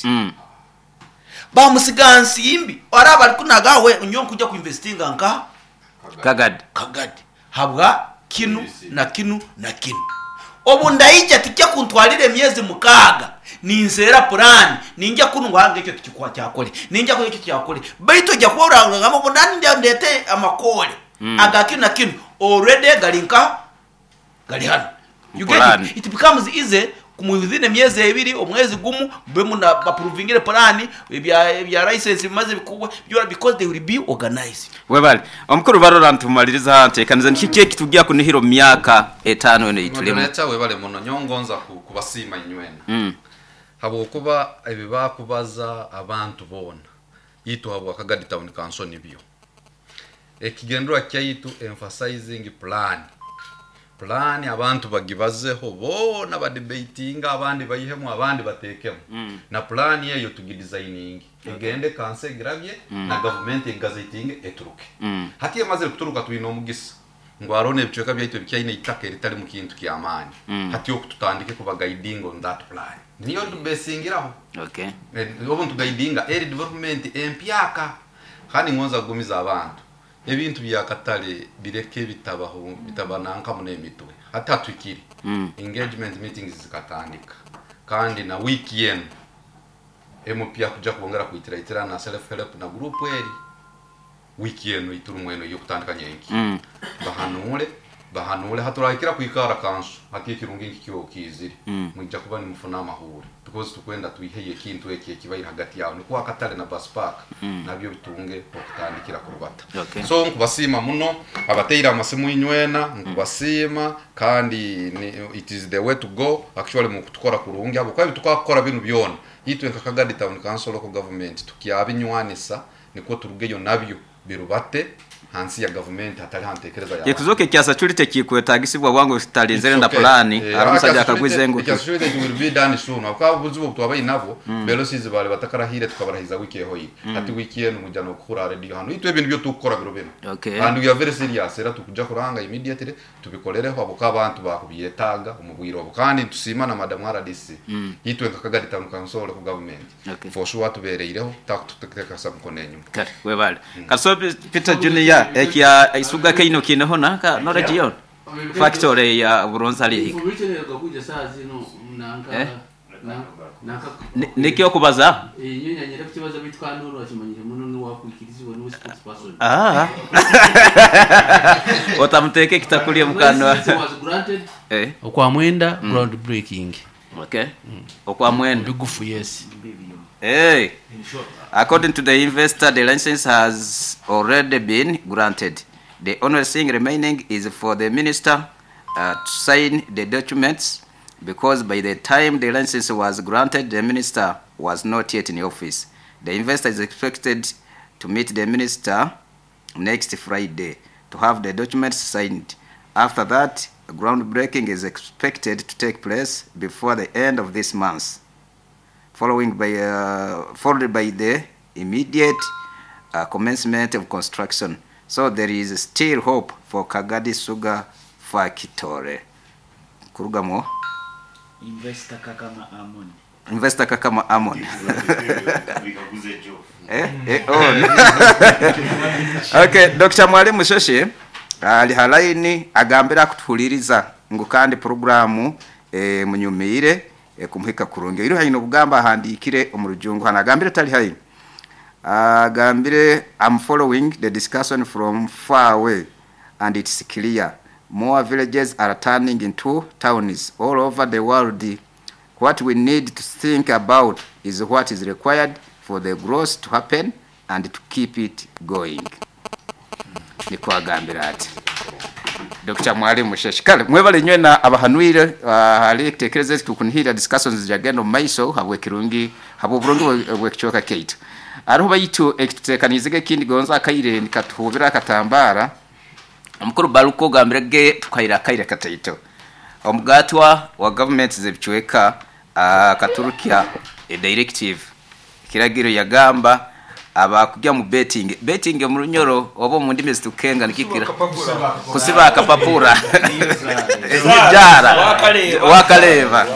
License bamusiga nsimbi araba ari kunaga we nyowe nkuja kuinvestinga nka Kagadi. Kagadi habwa kinu na kinu na kinu. Obu ndaija tikya kuntwalira emyezi 6 ninseera plan, ninja kunu ngu ekyo tikikwa kyakole, ninja kunu ekyo kyakole, baitu ojja kuba orangamba obu nani ndete amakole aga kinu na kinu already gali nka gali hano. You get Plan. it? It becomes easy within emyezi 2, omwezi gumu mbe muna approvingire plan ebya license bimaze bikubwa because they will be organized. Webale omukuru barora ntumaliriza ntekaniza niki ekitujja kunihira mu myaka 5 eno itulemu. Moderator webale muno nyongonza kubasiima inywena. Habwokuba ebibakubaza abantu boona itu habwa Kagadi Town Council nibyo. Ekigendwa kyaitu emphasizing plan. Plan abantu bagibazeho boona badebatinga, abandi bayihemu, abandi batekemu. Na plan eyo tugidesigning. Egende kanse grabye na government egazetinge eturuke. Hati emaze kuturuka tuina omugisa. Ngo arone ebichweka byaitu ebikyaine itaka eritali mu kintu ky'amaani. Hati okututandike kuba guiding on that plan. Niyo tubesingiraho. Obu ntuguidinga eri development empyaka. Kandi ngonza kugumiza abantu. Ebintu bya katale bireke bitabaho bitabananka mu nemitwe. Hata twikiri. Engagement meetings zikatandika. Kandi na wiki yenu MP akuja kuongera kuitira na self help na group eri. Wiki yenu iturumwe eno yo kutandika nyenki. Bahanure haturahikira kuikara kansu hati ekirungi nkikyo kiziri. Mwijja kuba nimufuna amahuri because tukwenda twiheye ekintu eki ekibaira hagati yawe nikuwa akatale na bus park nabyo bitunge okutandikira kurubata. So nkubasiima muno abateira amasimu inywena nkubasiima kandi it is the way to go actually mu kutukora kurungi abo kwa tukakora binu byona itwe nka Kagadi Town Council local government tukyabinywanisa niko turugeyo nabyo birubate hansi ya government hatari hantekereza ya Yekuzoke kyasa chulite kikwetagisibwa wangu sitalinzere na plani aramusajja akagwize ngo kyasa will be done soon akaba buzibu twabaye nabo velocities bale batakarahire tukabarahiza wiki eho yi ati wiki eno mujja no kukura radio hano itwe ibintu byo tukora biro bino. And we are very serious era tukuja kuranga immediately tubikolereho abo abantu bakubyetaga umubwiro abo kandi tusima na madam RDC itwe nka Kagadi Town Council local government. For sure tubereireho takututekeka samukono enyuma. Kare webale Kaso Peter Junior ekya isuga keino kineho naka no region factory ya Buronza ali nikyo kubaza inyonya nyere kukibaza bitwa nuru akimanyire muno nuwakwikirizibwa no spokesperson. Otamuteke kitakulia mukano okwa mwenda ground breaking. Okwa mwenda bigufu yes. Hey. According to the investor, the license has already been granted. The only thing remaining is for the minister to sign the documents, because by the time the license was granted, the minister was not yet in office. The investor is expected to meet the minister next Friday to have the documents signed. After that, groundbreaking is expected to take place before the end of this month, followed by the immediate commencement of construction. So there is still hope for Kagadi Sugar Factory. Kurugamo. Investor Kakama Amon. Investor Kakama Amon. Okay, Dr. Mwalimu Sheshe ali halaini agambira kutuhuliriza ngu kandi programu munyumire kumuhika kurungi. Iri haino kugamba ahandikire omurujungu hana agambire tali haino. Agambire I'm following the discussion from far away and it's clear more villages are turning into towns all over the world. What we need to think about is what is required for the growth to happen and to keep it going. Niko agambira ati Dr. Mwalimu Sheshe. Kale mwebale nywe na abahanwire hali tekereze tukunhira discussions jagendo maiso habwe kirungi habwe burungi bwe kichoka kate. Ariho bayitu ekitutekanizege kindi gonza akaire nikatuhubira akatambara omukuru baluko gambirege tukaira akaire kataito. Omugatwa wa government zebichweka akaturukia a directive kiragiro yagamba abakujya mu betting mu runyoro obo mu ndimi zitukenga nikikira kusiba akapapura njara wakaleva.